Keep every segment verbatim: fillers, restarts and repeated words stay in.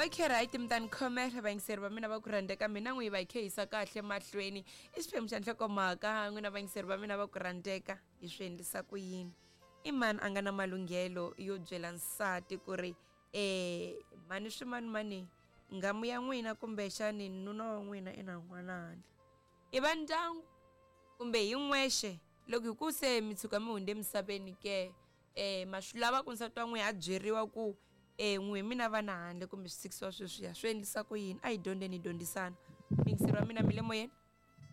Okay, right, mi ta ni khomela vayingiseri va mina va ku rhandzeka. Mina n'wi va hi khe hisa kahle mahlweni i xiphemu xa nhlokomhaka. N'wina vayingiseri va mina va ku rhandzeka, hi swi endlisa ku yini? I mani a nga na malunghelo yo byela nsati ku ri um mhani swimanimani, nghamu ya n'wina kumbexani nuna wa n'wina i na n'wana handle? I va ndyangu kumbe hi n'wexe? Loko hi ku se mi tshuka mi hundze emisaveni ke, um ma swi lava ku nsati wa n'wina a byeriwa ku um n'wi mina vana handle kumbe swi tshikisiwa sweswiya? Swi endlisa ku yini? A hi dyondzeni, hi dyondzisana. Miyingiseri wa mina, mi le moyeni.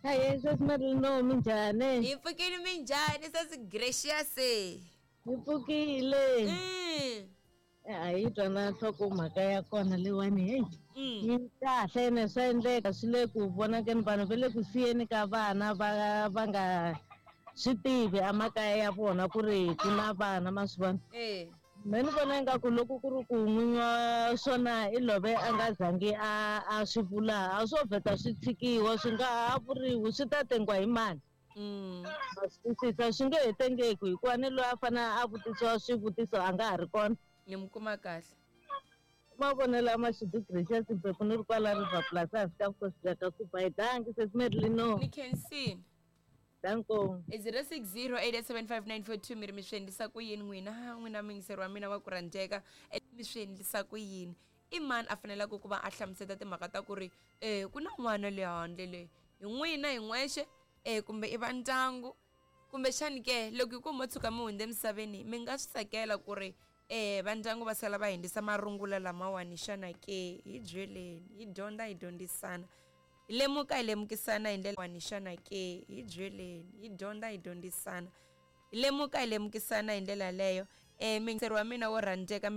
Hayi, sesi Marino, minjhani? Hi pfukile, minjhani sesi Gracious? Hi pfukile. Mm. A hi twa na nhlokomhaka ya kona leyiwani, heyi. Mm. Yi kahle ene swa endleka, swi le ku vonakeni, vanhu va le ku siyeni ka vana va va nga swi tivi emakaya ya vona ku ri ku na vana, ma swi vona. Eh. Me ni vona ingaku loko ku ri ku n'winyi wa swona i love a nga zangi a a swi vula, a swo vheta swi tshikiwa, swi nga ha vuriwi, swi ta tengiwa hi mani? Mm. Ma swi twisisa, swi nge he tengeki hikuva ni loyi a fanele a vutisiwa swivutiso a nga ha ri kona. Ni mi kuma kahle. Mavonelo ya Mashudu Gracious Mphephu, ni ri kwala River Plus ehansi ka vukosi bya ka Kuba. Hi danki, sesi Merlino. Ni khensini. Danko. I zero six zero eight eight seven five nine four two. Mi ri mi swi endlisa ku yini n'wina? N'wina muyingiseri wa mina wa ku rhandzeka, E, mi swi endlisa ku yini? I mani a faneleke ku va a hlamuseta timhaka ta ku ri um ku na n'wana le handle le? Hi n'wina hi n'wexe um kumbe i va ndyangu? Kumbexani ke loko hi ku mo tshuka mi hundze emisaveni, mi nga swi tsakela ku ri um va ndyangu va sala va hundzisa marungula lamawani xana ke? Hi byeleni, hi dyondza, hi dyondzisana, hi lemuka, hi lemukisana hi ndlela wani xana ke? Hi byeleni, hi dyondza, hi dyondzisana, hi lemuka, hi lemukisana hi ndlela yaleyo. Um muyingiseri wa mina wo rhandzeka, mi le